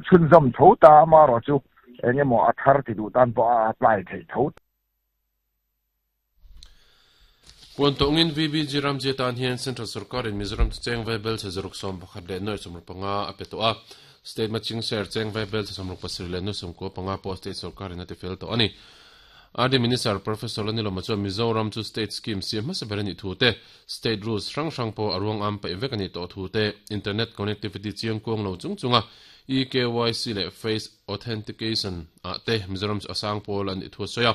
chhunzawm tho ta, amaherawhchu eng emaw a thar ti duh tan pawh a apply theih tho. Puan tawngin VBG Ramji atan hian Central Sorkarin Mizoram chu cheng vai bel chhe zaruk 11 leh nuai 65 a pe tawh a. State matching share cheng vai bel chhe 67 leh nuai 95 pawh State Sorkarin a tifel tawh a ni. RD Minister Professor Lanilawma chuan Mizoram chu State scheme siam hmasa ber a nih thu te, State rules hrang hrang pawh a ruang am paih vek a nih tawh thu te, Internet connectivity chiang kuang lo chung chunga eKYC leh Face Authentication ah te Mizoram chu a sang pawl a nih thu a sawi a.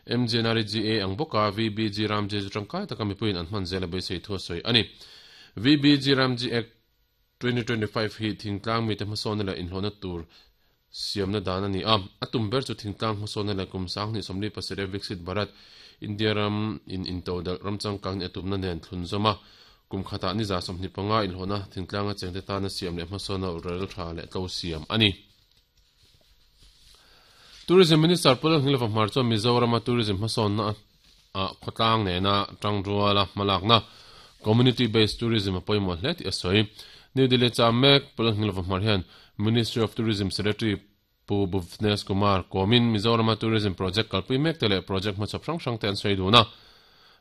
MGNREGA ang bawka VBG Ramji chu tangkai taka mipuiin an hman zel a beisei thu a sawi a ni. VBG Ramji Act 2025 hi thingtlang mite hmasawnna leh inhlawhna tur siamna dan a ni a. A tum ber chu thingtlang hmasawnna leh kum 2027 Viksit Bharat, India ram in intodelh ram changkang ni a tumna nen thlunzawm a. Kum khatah ni 25 inhlawhna thingtlanga chengte tana siam leh hmasawnna rel tha leh tlo siam a ni. Tourism Minister Pu Lalhnilova Hmar chuan Mizorama tourism hmasawnna ah khawtlang nena tangruala hmalakna Community Based Tourism a pawimawh hle tih a sawi. New Delhi cham mek Pu Lalhnilova Hmar hian Ministry of Tourism Secretary Pu Bhuvnesh Kumar kawmin Mizorama tourism project kalpui mek te leh project hmachhawp hrang hrang te an sawi dun a.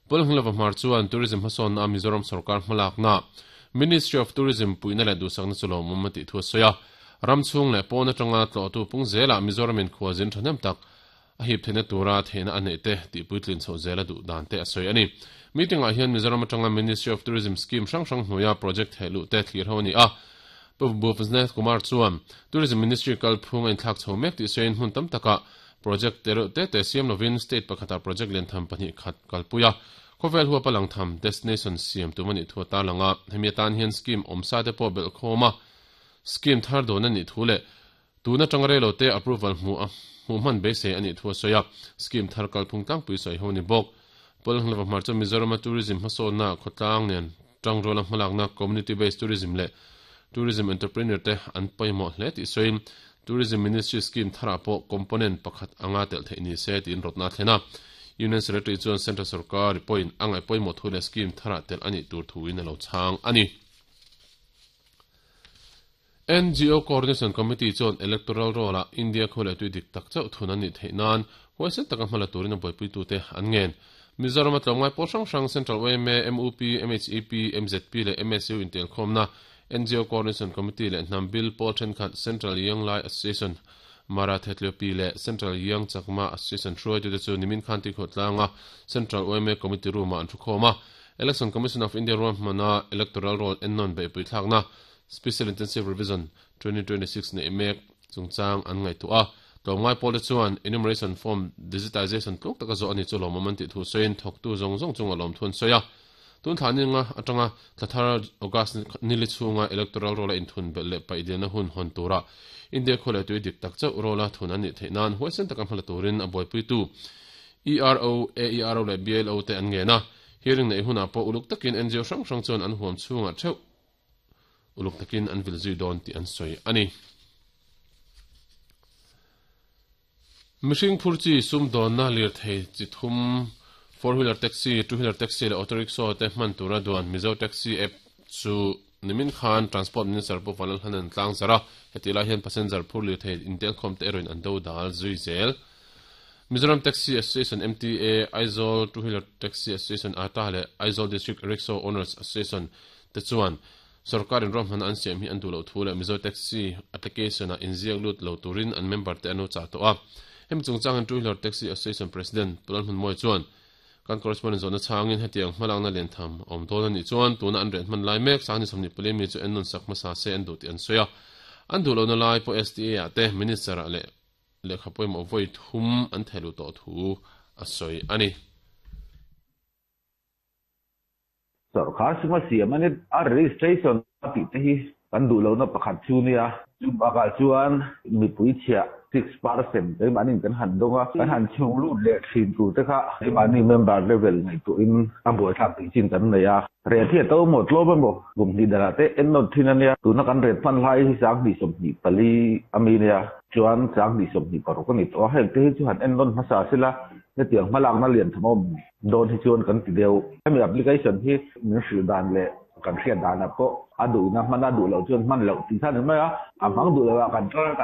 Pu Lalhnilova Hmar chuan tourism hmasawnna a Mizoram sorkar hmalakna Ministry of Tourism puihna leh duhsakna chu lawmawm a tih thu a sawi a. Ram chhung leh pawn atanga tlawhtu pung zelah Mizoramin khua zin thahnem tak a hip theihna tura theihna a neih te tih puitlin chhoh zel a duh dan te a sawi a ni. Meeting ah hian Mizoram atanga Ministry of Tourism scheme hrang hrang hnuaia project theh luh te thlir ho a ni a. Pu Bhuvnesh Kumar chuan Tourism Ministry kalphung a inthlak chho mek tih sawiin hmun tam takah project te reuh te te siam lovin state pakhatah project lian tham pahnih khat kalpui a, khawvel huapa lang tham destination siam tum a nih thu a tarlang a. Hemi atan hian scheme awmsa te pawh belhkhawm a, scheme thar dawn a nih thu leh Tun atanga reilo te approval hmuh a hmuh hman beisei a nih thu a sawi a, scheme thar kalphung tlangpui sawi ho a ni bawk. Pawlhnglava hmar chuan Mizorama tourism hmasawnna khawtlang nen tangruala hmalakna community based tourism leh tourism entrepreneur te an pawimawh hle tih sawiin Tourism Ministry scheme tharah pawh component pakhat anga telh theih ni se tiin rawtna a thlen a. Union Secretary chuan Central sorkar pawhin a ngaih pawimawh thu leh scheme tharah telh a nih tur thuin a lo chhang a ni. NGO Coordination Committee chuan Electoral Roll-ah India khaw leh tui dik tak chauh thun an nih theih nan huaisen taka hmala turin a buaipuitute an ngen. Mizorama tlawmngai pawl hrang hrang Central yma, mup, MHEP, MZP leh MSU intelkhawmna NGO Coordination Committee leh hnam bil pawl thenkhat Central Young Lai Association, Mara Thetleopi leh Central Young Chakma Association hruaitute chu nimin khan Tuikhawhtlanga Central yma Committee Room-ah an thukhawm a. Election Commission of India ruahmana Electoral Roll ennawn beihpui thlakna Special Intensive Revision 2026 neih mek chungchang an ngaihtuah a. Tlawmngai pawlte chuan enumeration form digitization tluk taka zawh a ni chu lawmawm an tih thu sawiin thawktu zawng zawng chunga lawmthu an sawi a. Tun thla ninga atanga thla thar August nili chhunga electoral roll a inthun belh leh paih dilna hun hawn tura India khua leh tui dik tak chauh roll a thun an nih theih nan huaisen taka hmala turin a buaipuitu ERO, AERO leh BLO te an ngen a. Hearing neih hunah pawh uluk takin NGO hrang hrang chuan an huam chhungah theuh uluk takin an vil zui dawn tih an sawi a ni. Mihring phur chi sumdawnna lirthei chi thum, four wheeler taxi, two wheeler taxi leh auto rickshaw te hman tura duan Mizo Taxi app chu nimin khan Transport Minister Pu Vanlalhan an tlang zar a, hetih lai hian passenger phur lirthei intelkhawm te erawhin an do dal zui zel. Mizoram Taxi Association, MTA, Aizawl Two Wheeler Taxi Association, ata leh Aizawl District Rickshaw Owners Association te chuan sorkarin ruahmanna an siam hi an duh loh thu leh Mizo Taxi application-ah inziak lut lo turin an member te an lo chah tawh a. Hemi chungchangin Two Wheeler Taxi Association President Pu Lalhmunmawia chuan kan correspondent zawhna chhangin hetiang hmalakna liantham a awm dawn a nih chuan tuna an riah hman lai mek Sangni 24 mi chu ennawn sak hmasa se an duh tih an sawi a. An duh lohna lai pawh STA-ah te Minister-ah leh lehkha pawimawh vawi thum an theh luh tawh thu a sawi a ni. Sorkar suma siam a ni. A registration a tih te hi kan duh lohna pakhat chu nia. Chu bakah chuan mipui chhiah 6% keimahni kan han dawng a, kan han chhung lut leh thin tur te kha keimahni member level ngaihtuahin a buaithlak tih chin kan nei a. Ret hi a to maw tlawm emaw kum hnih danah te en nawt thin a nia. Tuna kan ret hman lai hi 2024 a mi nia. Chuan 2026 a ni tawh a, heng te hi chu han en nawn hmasa sela hetiang hmalakna lian tham a awm dawn hi chuan kan ti deuh. Hemi application hi min hrilh dan leh kan hriat danah pawh a duhna hman a duh loh chuan hman loh tih kha a ni mai a, a hmang duh loh ah kan tar a kan.